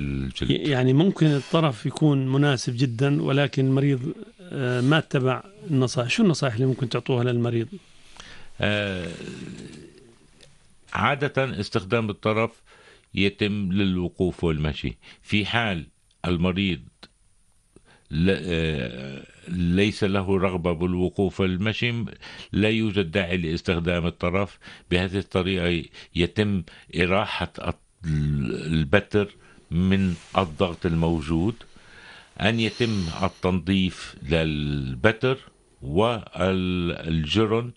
الجلد. يعني ممكن الطرف يكون مناسب جدا ولكن المريض ما اتبع النصائح. شو النصائح اللي ممكن تعطوها للمريض؟ عادة استخدام الطرف يتم للوقوف والمشي. في حال المريض ليس له رغبة بالوقوف والمشي لا يوجد داعي لاستخدام الطرف. بهذه الطريقة يتم إراحة البتر من الضغط الموجود، أن يتم التنظيف للبتر والجرن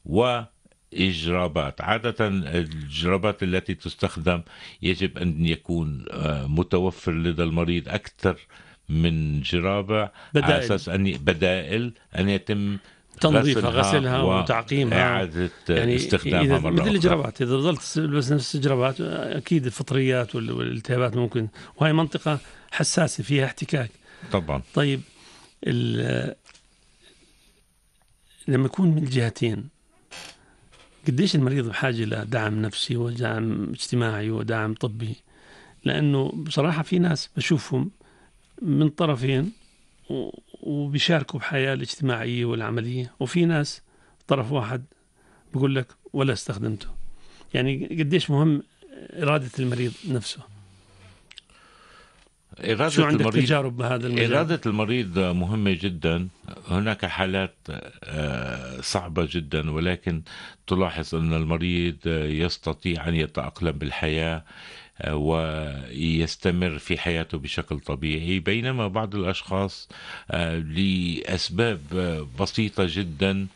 وإجرابات. عادة الجرابات التي تستخدم يجب أن يكون متوفر لدى المريض أكثر من جرابة، على أساس أن بدائل أن يتم تنظيفها، غسلها وتعقيمها، إعادة يعني استخدامها مرة مثل الجرابات. إذا ظلت تلبس نفس الجرابات أكيد الفطريات والالتهابات ممكن، وهي منطقة حساسة فيها احتكاك طبعا. طيب لما يكون من الجهتين، قديش المريض بحاجة لدعم نفسي ودعم اجتماعي ودعم طبي؟ لأنه بصراحة في ناس بشوفهم من طرفين وبيشاركوا بحياة الاجتماعية والعملية، وفي ناس طرف واحد بيقول لك ولا استخدمته. يعني قديش مهم إرادة المريض نفسه؟ شو عندك تجارب بهذا المجال؟ إرادة المريض مهمة جدا. هناك حالات صعبة جدا، ولكن تلاحظ أن المريض يستطيع أن يتأقلم بالحياة ويستمر في حياته بشكل طبيعي، بينما بعض الأشخاص لأسباب بسيطة جدا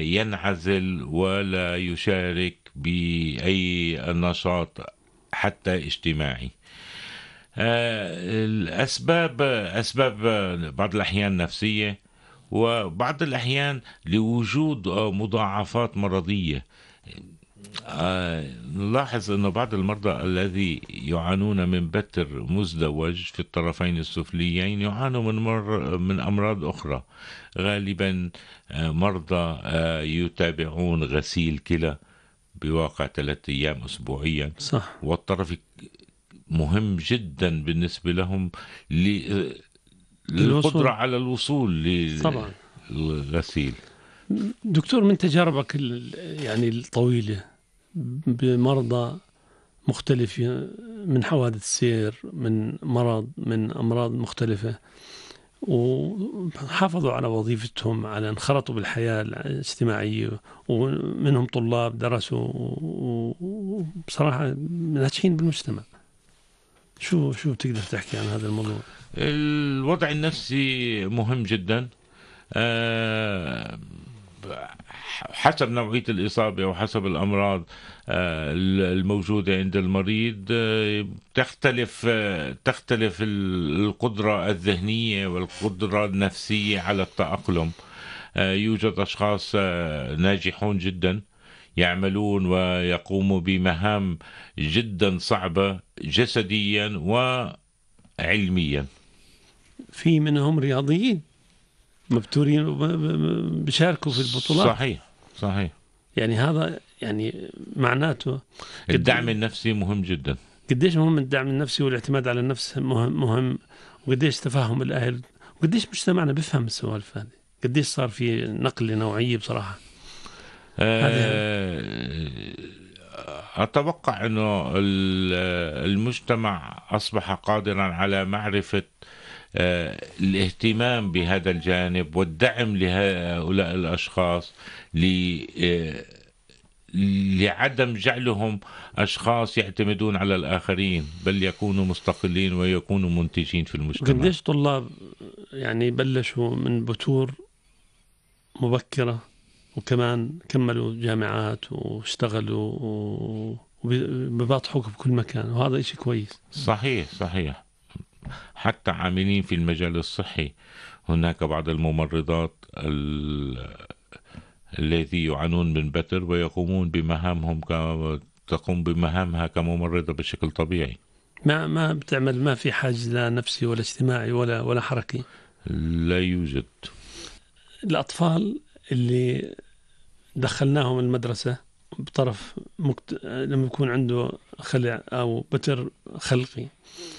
ينعزل ولا يشارك بأي نشاط حتى اجتماعي. الأسباب بعض الأحيان نفسية، وبعض الأحيان لوجود مضاعفات مرضية. نلاحظ أن بعض المرضى الذي يعانون من بتر مزدوج في الطرفين السفليين يعانوا من أمراض أخرى. غالبا مرضى يتابعون غسيل كلى بواقع 3 أيام أسبوعيا. صح. والطرف مهم جدا بالنسبة لهم للقدرة على الوصول للغسيل. دكتور، من تجاربك يعني الطويلة بمرضى مختلفة، من حوادث سير، من أمراض مختلفة، وحافظوا على وظيفتهم، على انخرطوا بالحياة الاجتماعية، ومنهم طلاب درسوا وبصراحة ناجحين بالمجتمع، شو تقدر تحكي عن هذا الموضوع؟ الوضع النفسي مهم جدا. حسب نوعية الإصابة وحسب الأمراض الموجودة عند المريض تختلف القدرة الذهنية والقدرة النفسية على التأقلم. يوجد أشخاص ناجحون جدا يعملون ويقوموا بمهام جدا صعبة جسديا وعلميا. في منهم رياضيين مبتورين بيشاركوا في البطولات. صحيح. يعني هذا يعني معناته الدعم النفسي مهم جدا. قديش مهم الدعم النفسي والاعتماد على النفس مهم، وقديش تفهم الأهل، وقديش مجتمعنا بيفهم السوالف هذه، قديش صار في نقلة نوعية بصراحة. أتوقع أنه المجتمع أصبح قادرا على معرفة الاهتمام بهذا الجانب والدعم لهؤلاء الأشخاص لعدم جعلهم أشخاص يعتمدون على الآخرين، بل يكونوا مستقلين ويكونوا منتجين في المجتمع. قديش طلاب يعني بلشوا من بتور مبكرة وكمان كملوا جامعات واشتغلوا وبيباطحوك بكل مكان، وهذا إشي كويس. صحيح. حتى عاملين في المجال الصحي، هناك بعض الممرضات الذي يعانون من بتر ويقومون بمهامهم تقوم بمهامها كممرضة بشكل طبيعي. ما بتعمل، ما في حاجز لا نفسي ولا اجتماعي ولا حركي. لا يوجد. الأطفال اللي دخلناهم المدرسة بطرف لما يكون عنده خلع أو بتر خلقي